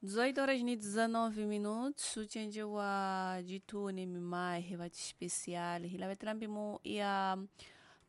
18 horas e 19 minutos, ucenje wa jituni mimahe va chipesiali hilavetela mpimo ya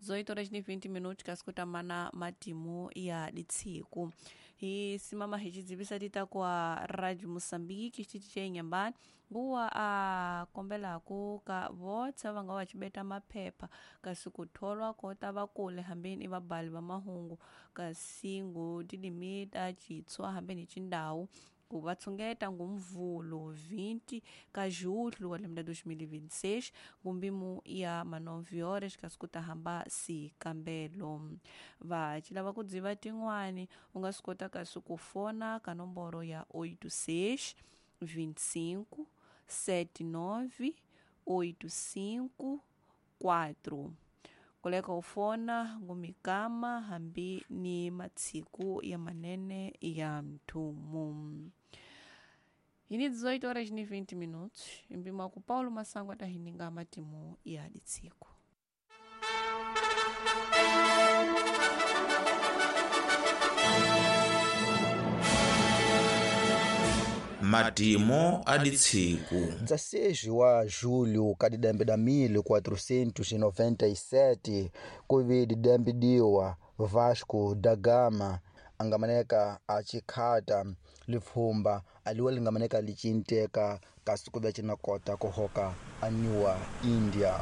18 horas e 20 minutos kasi mana matimu ya ditsiku hi simama hi xidzivisa tita kwa radio Moçambique xitichi xa Inhambane nguwa a kombelaku ka votsa va nga va xibeta maphepha kasi ku tholwa kota va kule hambeni i vabali va mahungu kasi ngu tilimita citshwa hambeni hi cindhawu ku va tshungeta ngumvulo 20 ka julho wa lembe ra 2026 ngumbimu ya ma 9 horas kasi ku ta hamba sikambelo va ci lava ku dziva tin'wani u nga swi kota kasi ku fona ka nomboro ya 86 25 79 85 4 koleka u fona ngumikama hambi ni matsiku ya manene ya mthumu hini 18 horas ni 20 minutos mpimo ku Paulo Masango atahininga matimu ya ditsiku. Matimu a ditsiku. 16 wa julho ka didembe da 1497 kuvi didembe diwa Vasco da Gama angamaneka achikhata lipfhumba aliwa lingamaneka licinteka kasi kuve cinakota kuhoka aniwa India.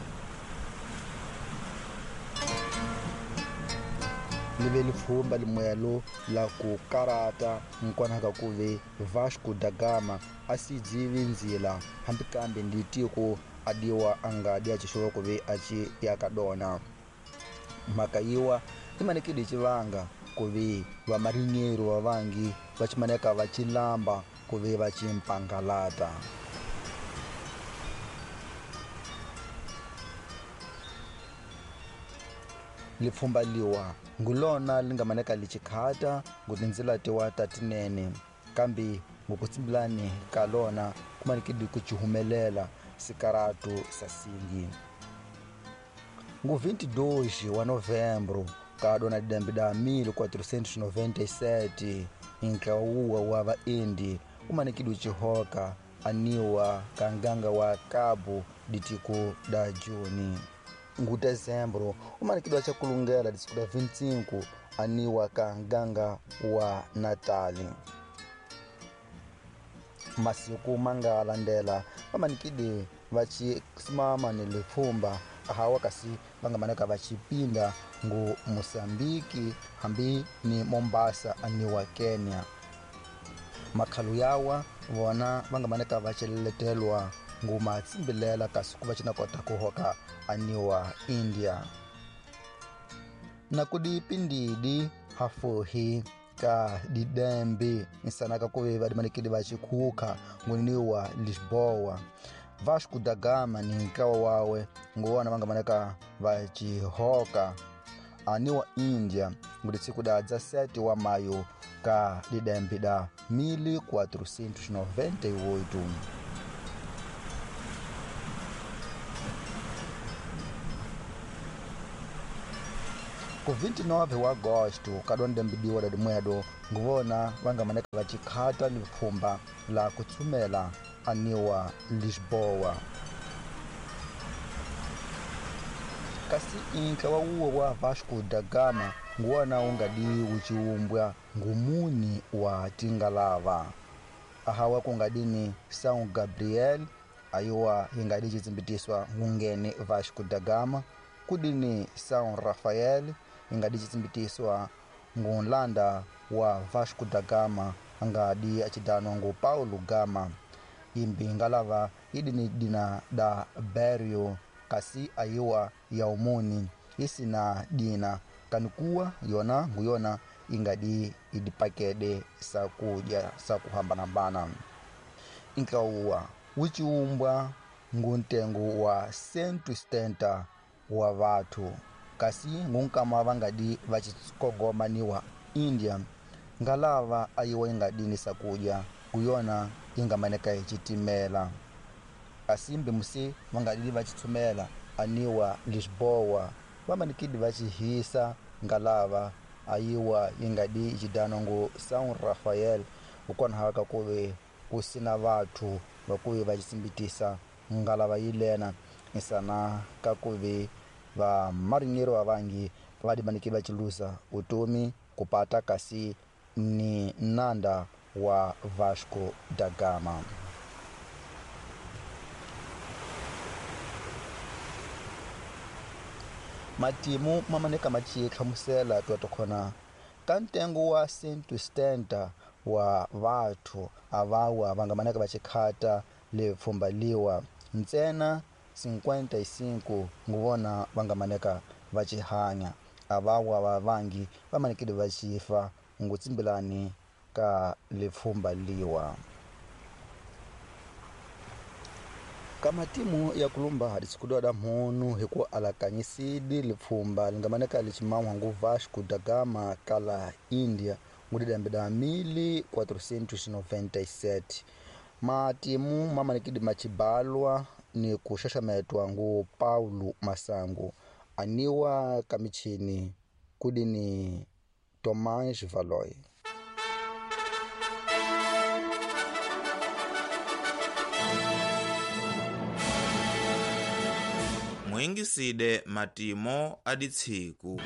Live lipfhumba limwelo la ku karata nkonaka kuve Vasco da Gama a si dzivi ndzila hambi kambe ndi tiko adiwa anga di acixowa kuve aci yaka dona. Mhaka yiwa imanekile civanga kuve vamarinheiro vavangi va cimaneka va cilamba kuve va cimpangalata. Lipfhumba liwa ngulona lingamaneka licikhata ngutindzila tiwa ta tinene kambe ngukutsimbilani ka lona kumanekile ku cihumelela sikaratu sasingi. Ngu 22 wa novembro ka dona didembe da 1497 ntlawuwa wa vaendi umanekile cihoka aniwa ka nganga wa Cabo ditiko da Juni. Ngu dezembro umanekile acakulungela disiku da 25 aniwa ka nganga wa Natali. Masiku manga landela vamanikile vacisimama ni lipfhumba ahawa kasi vangamaneka vacipinda ngu Moçambique hambi ni Mombasa aniwa Kenya. Makhalu yawa vona vangamaneka vaceletelwa ngu matsimbilela kasi ku va cinakota kuhoka aniwa India. Na kudi pindidi hafuhi ka didembe nsanaka kuve vadimanekile vacikhuka nguniniwa Lisboa. Vasco da Gama ni nkawa wawe nguwona vangamaneka vacihoka aniwa India nguditsiku da 17 wa maio ka didembe da 1498. Ku 29 wa agosto ka dondembidiwa da dimwedo nguvona vangamaneka vacikhata lipfhumba la kutsumela aniwa Lisboa. Kasi inka wa uwo wa Vasco da Gama nguwona ungadi uciumbwa ngumuni wa tingalava ahawa kungadini São Gabriel ayiwa ingadi citsimbitiswa ngungene Vasco da Gama, kudini São Rafael ingadi citsimbitiswa ngunlanda wa Vasco da Gama angadi acidanwa ngu Paulo Gama. Imbi ngalava idini dina da Berio kasi ayiwa ya umuni isina dina kanikuwa yona nguyona ingadi idipakede sakudya sakuhambanambana. Inkauwa wuciumbwa nguntengo wa 170 wa vathu kasi ngunkama vangadi vacikongomaniwa India. Ngalava ayiwa ingadini sakudya kuyona ingamaneka icitimela kasi mbimusi vangadidi vacitsumela aniwa Lisboa vamanikidi vacihisa ngalava ayiwa ingadi icidanwa ngu São Rafael Hikwalaho ka ku ve ku sina vathu va ku ve va xitsimbitisa ngalava yilena isana ka ku ve vamarineri va vangi va dimaneke va cilusa vutomi kupata kasi ni nanda wa Vasco da Gama. Matimu mamaneka maciye hlamusela twatokhona ka ntengo wa 170 wa vathu avawa va nga maneka va xikhata lepfhumba liwa ntsena 55 nguvona va nga maneka va xihanya avawa va vangi va manekile va xifa ngutsimbilani ka lepfhumba liwa. Ka matimu ya kulumba hadisikudiwa da mhunu hi ku alakanyisidi lipfhumba lingamaneka lichiman'wa ngu Vasco da Gama kala India ngudidambe 1497. Matimu mamanekidi machibalwa ni kuxaxametwa ngu Paulo Masangu aniwa ka michini kudini Tomás Valoy. Muyingiside matimo aditsiku.